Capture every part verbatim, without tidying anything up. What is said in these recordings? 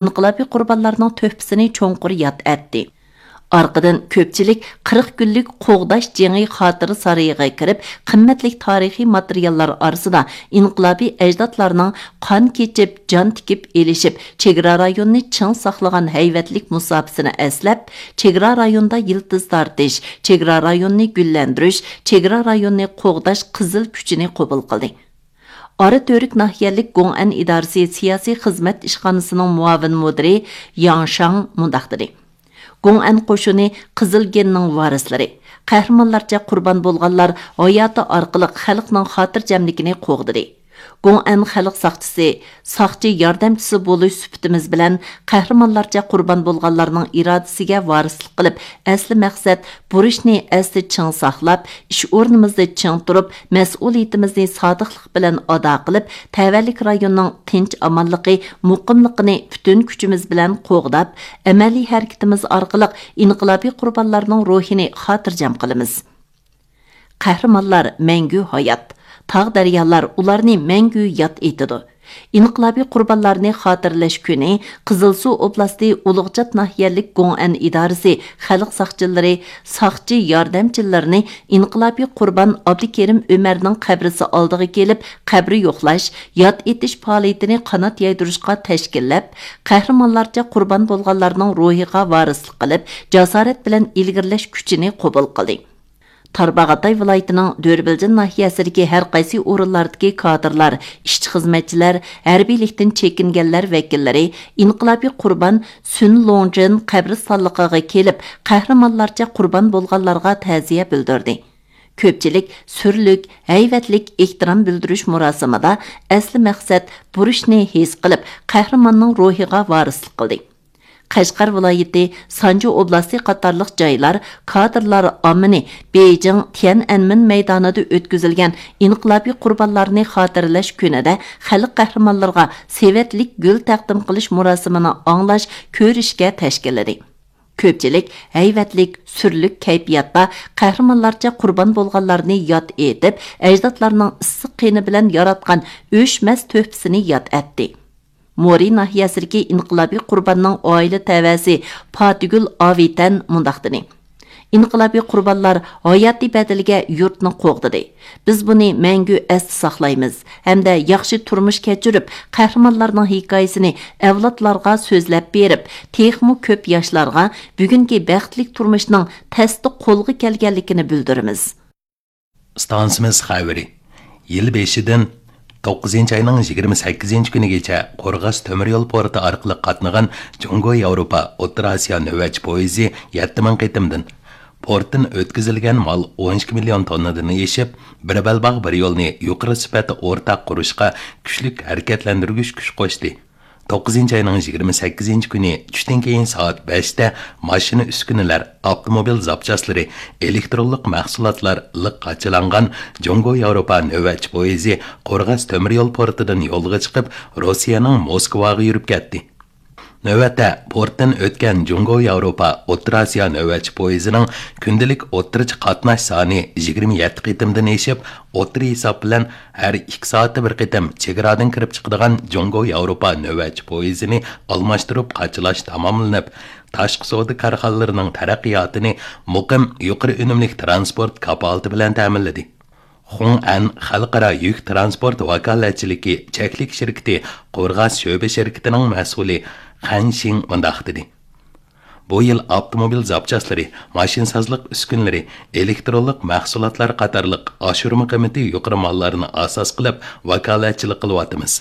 ئىنقىلابىي قۇربانلارنىڭ تۆھپىسىنى چوڭقۇر ياد ئەتتى. ئارقىدىن كۆپچىلىك قىرىق كۈنلۈك قوغداش جېڭى خاتىرە سارىيىغا كىرىپ، قىممەتلىك تارىخىي ماتېرىياللار ئارىسىدا ئىنقىلابىي ئەجدادلارنىڭ قان كېچىپ، جان تىكىپ ئېلىشىپ، چېگرا رايونىنى چىڭ ساقلىغان ھەيۋەتلىك مۇساپىسىنى ئەسلەپ، چېگرا رايونىدا يىلتىز تارتىش، چېگرا رايونىنى گۈللەندۈرۈش، چېگرا رايونىنى قوغداش قىزىل كۈچىنى قوبۇل قىلدى. ئاراتۈرك ناھىيەلىك گوڭئەن ئىدارىسى سىياسىي خىزمەت ئىشخانىسىنىڭ مۇئاۋىن مۇدىرى ياڭ شاڭ مۇنداق دېدى: گوڭئەن قوشۇنى قىزىل گېننىڭ ۋارىسلىرى. قەھرىمانلارچە قۇربان بولغانلار ھاياتى ئارقىلىق خەلقنىڭ خاتىرجەملىكىنى قوغدىدى. گوڭئەن خەلق ساقچىسى، ساقچى ياردەمچىسى بولۇش سۈپىتىمىز بىلەن قەھرىمانلارچە قۇربان بولغانلارنىڭ ئىرادىسىگە ۋارىسلىق قىلىپ، ئەسلى مەقسەت بۇرچنى ئەستە چىڭ ساقلاپ، ئىش ئورنىمىزدا چىڭ تۇرۇپ، مەسئۇلىيىتىمىزنى سادىقلىق بىلەن ئادا قىلىپ، تەۋەلىك رايوننىڭ تىنچ-ئامانلىقى، مۇقىملىقىنى پۈتۈن كۈچىمىز بىلەن قوغداپ، ئەمەلىي ھەرىكىتىمىز ئارقىلىق ئىنقىلابىي قۇربانلارنىڭ روھىنى خاتىرجەم قىلىمىز. قەھرىمانلار مەڭگۈ ھايات، تاغ-دەريالار ئۇلارنى مەڭگۈ ياد ئېتىدۇ. ئىنقىلابىي قۇربانلارنى خاتىرىلەش كۈنى قىزىلسۇ ئوبلاستى ئۇلۇغچات ناھىيەلىك گوڭئەن ئىدارىسى خەلق ساقچىلىرى، ساقچى ياردەمچىلىرىنى ئىنقىلابىي قۇربان ئابدۇكېرىم ئۆمەرنىڭ قەبرىسى ئالدىغا كېلىپ، قەبرە يوقلاش، ياد ئېتىش پائالىيىتىنى قانات يايدۇرۇشقا تەشكىللەپ، قەھرىمانلارچە قۇربان بولغانلارنىڭ روھىغا ۋارىسلىق قىلىپ، جاسارەت بىلەن ئىلگىرىلەش كۈچىنى قوبۇل قىلدى. تارباغاتاي ۋىلايىتىنىڭ دۆربىلجىن ناھىيەسىدىكى ھەر قايسى ئورۇنلاردىكى كادىرلار، ئىشچى-خىزمەتچىلەر، ھەربىيلىكتىن چېكىنگەنلەر ۋەكىللىرى ئىنقىلابىي قۇربان سۈن لوڭجىن قەبرىستانلىقىغا كېلىپ، قەھرىمانلارچە قۇربان بولغانلارغا تەزىيە بىلدۈردى. كۆپچىلىك سۈرلۈك، ھەيۋەتلىك ئېھتىرام بىلدۈرۈش مۇراسىمىدا ئەسلى مەقسەت بۇرچنى ھېس قىلىپ، قەھرىماننىڭ روھىغا ۋارىسلىق قىلدى. قەشقەر ۋىلايىتى، سانجى ئوبلاستى قاتارلىق جايلار كادىرلار ئاممىنى بېيجىڭ تيەنئەنمېن مەيدانىدا ئۆتكۈزۈلگەن ئىنقىلابىي قۇربانلارنى خاتىرىلەش كۈنىدە خەلق قەھرىمانلىرىغا سېۋەتلىك گۈل تەقدىم قىلىش مۇراسىمىنى ئاڭلاش، كۆرۈشكە تەشكىللىدى. كۆپچىلىك ھەيۋەتلىك، سۈرلۈك كەيپىياتتا قەھرىمانلارچە قۇربان بولغانلارنى ياد ئېتىپ، ئەجدادلارنىڭ ئىسسىق قېنى بىلەن ياراتقان ئۆچمەس تۆھپىسىنى ياد ئەتتى. مورى ناھىيەسىدىكى ئىنقىلابىي قۇرباننىڭ ئائىلە تەۋەسى پاتىگۈل ئاۋىتەن مۇنداق دېدى: ئىنقىلابىي قۇربانلار ھاياتىي بەدىلىگە يۇرتنى قوغدىدى. بىز بۇنى مەڭگۈ ئەستە ساقلايمىز ھەمدە ياخشى تۇرمۇش كەچۈرۈپ، قەھرىمانلارنىڭ ھېكايىسىنى ئەۋلادلارغا سۆزلەپ بېرىپ، تېخىمۇ كۆپ ياشلارغا بۈگۈنكى بەختلىك تۇرمۇشنىڭ تەستە قولغا كەلگەنلىكىنى بىلدۈرىمىز. ئىستانسىمىز خەۋىرى. يىل بېشىدىن توققۇزىنچى ئاينىڭ يىگىرمە سەككىزىنچى كۈنىگىچە قورغاس تۆمۈر يول پورتى ئارقىلىق قاتنىغان جۇڭگو ياۋروپا ئوتتۇرا ئاسىيا نۆۋەتچى پويىزى يەتتە مىڭ قېتىمدىن، پورتتىن ئۆتكۈزۈلگەن مال ئون ئىككى مىليون توننىدىن ئېشىپ، بىر بەلباغ بىر يولنى يۇقىرى سۈپەتتە ئورتاق قۇرۇشقا كۈچلۈك ھەرىكەتلەندۈرگۈچ كۈچ قوشتى. توققۇزىنچى ئاينىڭ يىگىرمە سەككىزىنچى كۈنى چۈشتىن كېيىن سائەت بەشتە ماشىنا ئۈسكۈنىلەر، ئاپتوموبىل زاپچاسلىرى، ئېلېكترونلۇق مەھسۇلاتلار لىق قاچىلانغان جۇڭگو ياۋروپا نۆۋەتچى پويىزى قورغاس تۆمۈر يول پورتىدىن يولغا چىقىپ، روسىيەنىڭ موسكۋاغا يۈرۈپ كەتتى. نۆۋەتتە پورتتىن ئۆتكەن جۇڭگو ياۋروپا ئوتتۇرا ئاسىيا نۆۋەتچى پويىزىنىڭ كۈندىلىك ئوتتۇرىچە قاتناش سانى يىگىرمە يەتتە قېتىمدىن ئېشىپ، ئوتتۇرا ھېساب بىلەن ھەر ئىككى سائەتتە بىر قېتىم چېگرادىن كىرىپ چىقىدىغان جۇڭگو ياۋروپا نۆۋەتچى پويىزىنى ئالماشتۇرۇپ قاچىلاش تاماملىنىپ، تاشقى سودا كارخانىلىرىنىڭ تەرەققىياتىنى مۇقىم، يۇقىرى ئۈنۈملۈك تىرانسپورت كاپالىتى بىلەن تەمىنلىدى. خۇڭئەن خەلقئارا يۈك تىرانسپورت ۋاكالەتچىلىكى چەكلىك شىركىتى قورغاس شۆبە شىركىتىنىڭ مەسئۇلى خەن شىڭ مۇنداق دېدى: بۇ يىل ئاپتوموبىل زاپچاسلىرى، ماشىنىسازلىق ئۈسكۈنىلىرى، ئېلېكترونلۇق مەھسۇلاتلار قاتارلىق ئاشۇرما قىممىتى يۇقىرى ماللارنى ئاساس قىلىپ ۋاكالەتچىلىك قىلىۋاتىمىز.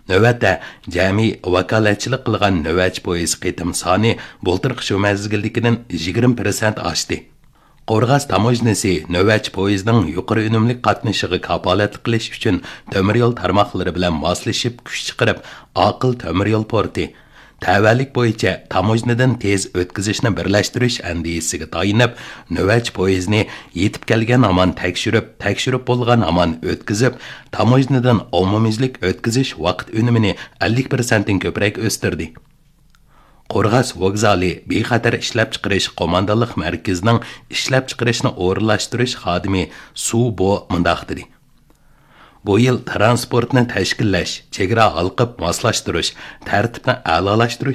نۆۋەتتە جەمئىي ۋاكالەتچىلىك قىلغان نۆۋەتچى پويىز قېتىم سانى بۇلتۇرقى شۇ مەزگىلدىكىدىن يىگىرمە پىرسەنت ئاشتى. قورغاس تاموژنىسى نۆۋەتچى پويىزنىڭ يۇقىرى ئۈنۈملۈك قاتنىشىغا كاپالەتلىك قىلىش ئۈچۈن تۆمۈر يول تارماقلىرى بىلەن ماسلىشىپ كۈچ چىقىرىپ، ئاقىل تۆمۈر يول پورتى، تەۋەلىك بويىچە تاموژنىدىن تېز ئۆتكۈزۈشنى بىرلەشتۈرۈش ئەندىزىسىگە تايىنىپ، نۆۋەتچى پويىزنى يېتىپ كەلگەن ھامان تەكشۈرۈپ، تەكشۈرۈپ بولغان ھامان ئۆتكۈزۈپ، تاموژنىدىن ئومۇميۈزلۈك ئۆتكۈزۈش ۋاقىت ئۈنۈمىنى ئەللىك پىرسەنتتىن كۆپرەك ئۆستۈردى. قورغاس ۋوگزالى بىخەتەر ئىشلەپچىقىرىش قوماندانلىق مەركىزىنىڭ ئىشلەپچىقىرىشنى ئورۇنلاشتۇرۇش خادىمى سۇ بو مۇنداق دېدى: بۇ يىل تىرانسپورتنى تەشكىللەش، چېگرا ھالقىپ ماسلاشتۇرۇش، تەرتىپنى ئەلالاشتۇرۇش